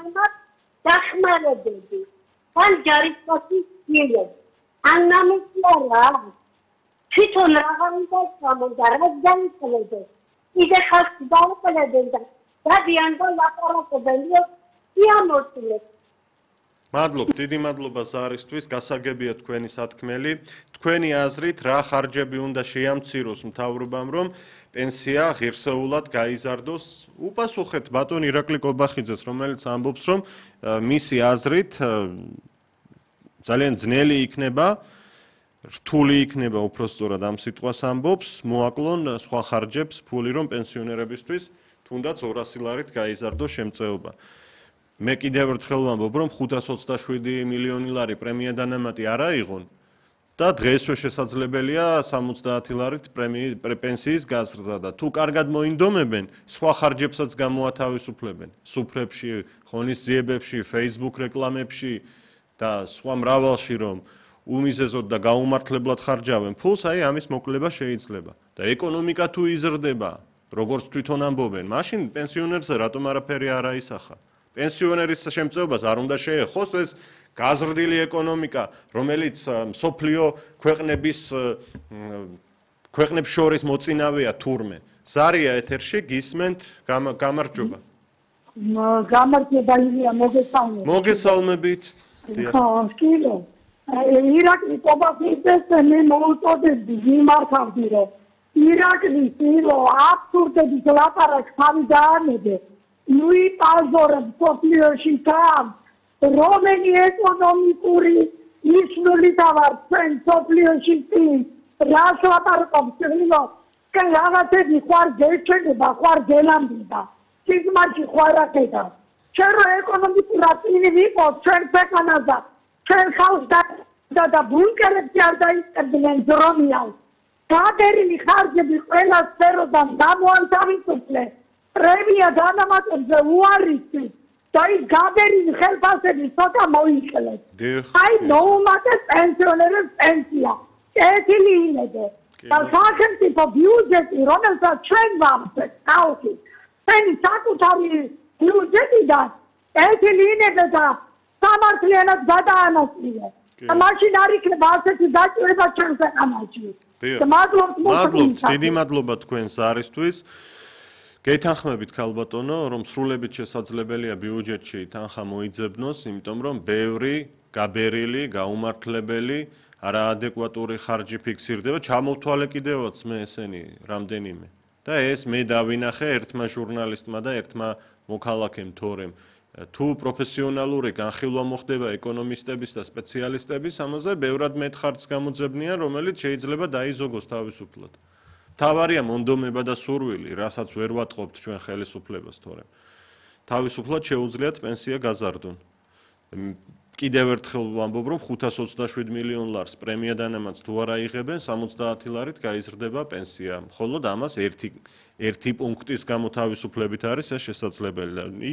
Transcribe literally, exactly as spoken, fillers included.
რომელმაც დახმარებები ან ჯარისკაცის გილებს ან ნამუშევარა თვითონ რაღაცა გამოდა რაც განიცადეს იდე ხალხს დაუყენებენ და დადიან და ლაპარაკობენ იამოწილებს მადლობ, დიდი მადლობა ზარისთვის, გასაგებია თქვენი სათქმელი. თქვენი აზრით, რა ხარჯები უნდა შეამციროს მთავრობამ, რომ პენსია ღირსეულად გაიზარდოს? უპასუხეთ ბატონ ირაკლი კობახიძეს, რომელიც ამბობს, რომ მისი აზრით ძალიან ძნელი იქნება, რთული იქნება უпростоრად ამ სიტყვას ამბობს, მოაკლონ სხვა ხარჯებს ფული, რომ პენსიონერებისთვის თუნდაც ორასი ლარით გაიზარდოს შემწეობა. მე კიდევ ერთხელ ვამბობ, რომ ხუთას ოცდაშვიდი მილიონი ლარი პრემია დანამატი არ აიღონ და დღესვე შესაძლებელია სამოცდაათი ლარით პენსიის გაზრდა და თუ კარგად მოინდომებენ, სხვა ხარჯებსაც გამოათავისუფლებენ, სუფრებში, ღონისძიებებში, Facebook რეკლამებში და სხვა მრავალში, რომ უმიზეზოდ და გაუმართლებლად ხარჯავენ ფულს, აი ამის მოკლება შეიძლება. და ეკონომიკა თუ იზრდება, როგორც თვითონ ამბობენ, მაშინ პენსიონერზე რატომ არაფერი არ აისახა? პენსიონერის შემწეობას არ უნდა შეეხოს ეს გაზრდილი ეკონომიკა, რომელიც მსოფლიო ქვეყნების ქვეყნებს შორის მოწინავეა თურმე. ზარია ეთერში გისმენთ გამარჯობა. გამარჯობა ილია მოგესალმებით. მოგესალმებით. ხო, სკილო. ირაკლი კობახიძეს მე მოუწოდებდი მიმართავდი რომ ირაკლი სკილო აბსურდების ლაპარაკს თავი დაანებე. ნუი პაზორებს სოფლიოში თან რომელი ეკონომიკური ისმულით ავარ ჩვენ სოფლიოში წინ რას ლაპარაკობს სკილო რაღაცები ხوار გეჩვენება ხوار გელამდება სიგმაში ხوار აკეთა ჩვენ რო ეკონომიკურად წინ ვიყოთ ჩვენ ქვეყანაზე ჩვენ ხალხს და და ბუნკერებში არ დაიწყებდნენ ძრომიალ გადერილი ხარჯები ყველა სფეროდან გამოანთავისუფლეს პრემია დანამატებზე უარესი და ის გადერილი ხელფასები ცოტა მოიკლეს. აი მოუმატეს პენსიონერებს პენსია. კეთილი იმედე. და სახელმწიფო ბიუჯეტი, რომელსაც ჩვენ ვამსეთ, ხალხი, ჩვენი საკუთარი ბიუჯეტიდან კეთილი იმედე და სამართლიანად გადაანაწილეს. და მაშინ არ იქნება ასეთი დაჭირება ჩვენ ქვეყანაში. მადლობთ მადლობთ, დიდი მადლობა თქვენ ზარისთვის. გეთანხმებით ქალბატონო, რომ სრულებით შესაძლებელია ბიუჯეტში თანხა მოიძებნოს, იმიტომ რომ ბევრი გაბერილი, გაუმართლებელი, არაადეკვატური ხარჯი ფიქსირდება, ჩამოვთვალე კიდევაც მე ესენი რამდენიმე. და ეს მე დავინახე ერთმა ჟურნალისტმა და ერთმა მოქალაქემ თორემ. თუ პროფესიონალური განხილვა მოხდება ეკონომისტების და სპეციალისტების, ამაზე ბევრად მეტ ხარჯს გამოძებნიან, რომელიც შეიძლება დაიზოგოს თავისუფლად. თავარია მონდომება და სურვილი, რასაც ვერ ვატყობთ ჩვენ ხელისუფლებას თორემ. თავისუფლად შეუძლიათ პენსია გაზარდონ. კიდევ ერთხელ ვამბობ, რომ ხუთას ოცდაშვიდ მილიონ ლარს პრემია დანამატს თუ არ აიღებენ, სამოცდაათი ლარით გაიზრდება პენსია. მხოლოდ ამას ერთი ერთი პუნქტის გამოთავისუფლებით არის ეს შესაძლებელი. იქ